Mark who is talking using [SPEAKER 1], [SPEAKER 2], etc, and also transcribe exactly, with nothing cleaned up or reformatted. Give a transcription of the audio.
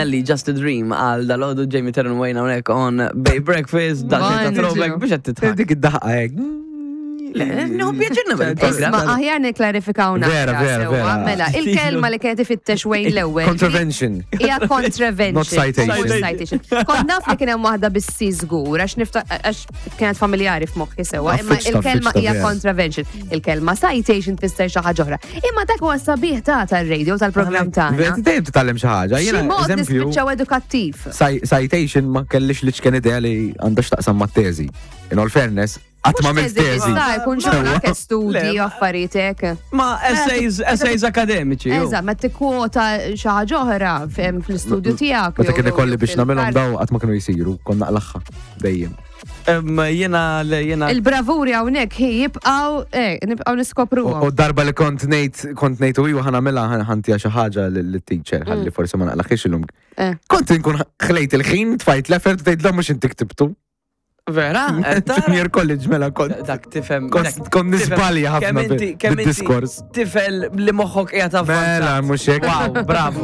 [SPEAKER 1] Nelly, Just a Dream, għal dalgħodu Jamie Terran Wayne hawnhekk on Bay Breakfast, da ta' throwback biex qed titħak.
[SPEAKER 2] Dik id-daħqa hekk.
[SPEAKER 1] Le, nieħu pjaċir nagħmel il-programm.
[SPEAKER 3] Isma', aħjar niklarifikaw
[SPEAKER 2] Vera,
[SPEAKER 3] naqra
[SPEAKER 2] vera,
[SPEAKER 3] sewwa.
[SPEAKER 2] vera.
[SPEAKER 3] Mela, il-kelma li kienet ifittex Wayne l-ewwel.
[SPEAKER 2] Contravention.
[SPEAKER 3] Hija contravention.
[SPEAKER 2] Not citation.
[SPEAKER 3] Mhux citation. Kont naf li kien hemm waħda bis-si żgur għax nifta għax kienet familjari f'moħħi sewwa, imma
[SPEAKER 2] Affiċta,
[SPEAKER 3] il-kelma
[SPEAKER 2] affiċta,
[SPEAKER 3] hija
[SPEAKER 2] vera.
[SPEAKER 3] contravention. Il-kelma citation tfisser xi ħaġa oħra. Imma dak huwa sabiħ ta' tar-radio tal-programm
[SPEAKER 2] Vera,
[SPEAKER 3] tagħna.
[SPEAKER 2] dejjem titgħallem xi ħaġa.
[SPEAKER 3] Xi
[SPEAKER 2] Jiena,
[SPEAKER 3] mod
[SPEAKER 2] eżempju,
[SPEAKER 3] nispiċċaw edukattiv.
[SPEAKER 2] ci- citation ma kellix li ċken idea li għandha x'taqsam mat-teżi. In all fairness, qatt ma għamilt teżi.
[SPEAKER 3] Issa jkun xogħol studji
[SPEAKER 1] Le,
[SPEAKER 3] u affarijiet hekk.
[SPEAKER 1] Ma essays, essays akademiċi. ju.
[SPEAKER 3] Eżatt, ma tikkwota xi ħaġa oħra fem fl-istudju tiegħek.
[SPEAKER 2] Meta
[SPEAKER 3] jew-
[SPEAKER 2] kien ikolli biex
[SPEAKER 3] jew
[SPEAKER 2] nagħmilhom
[SPEAKER 3] fil-kar-
[SPEAKER 2] daw qatt ma kienu jsiru, konna naqlaħħa dejjem.
[SPEAKER 1] Em, Jiena, le, jiena.
[SPEAKER 3] Il-bravuri hawnhekk hi jibqgħu eh nibqgħu
[SPEAKER 2] U
[SPEAKER 3] niskopruhom.
[SPEAKER 2] u darba li kont ngħid kont ngħid u iwa ħa nagħmilha ħa ntiha xi ħaġa lit-teacher ħalli forsi ma naqlaħiex illum.
[SPEAKER 3] Eh.
[SPEAKER 2] Kont inkun ħlejt il-ħin, tfajt l-effort u tgħid mhux inti ktibtu.
[SPEAKER 1] Vera? Eh, tara?
[SPEAKER 2] Junior college mela kont.
[SPEAKER 1] Dak tifhem.
[SPEAKER 2] Kont
[SPEAKER 1] dak
[SPEAKER 2] kont
[SPEAKER 1] tifhem
[SPEAKER 2] nisbalja ħafna
[SPEAKER 1] kemm inti- kemm inti
[SPEAKER 2] bid-diskors.
[SPEAKER 1] Tifel li moħħok qiegħed avvanzat.
[SPEAKER 2] Mela, mhux hekk.
[SPEAKER 1] Wow, bravo.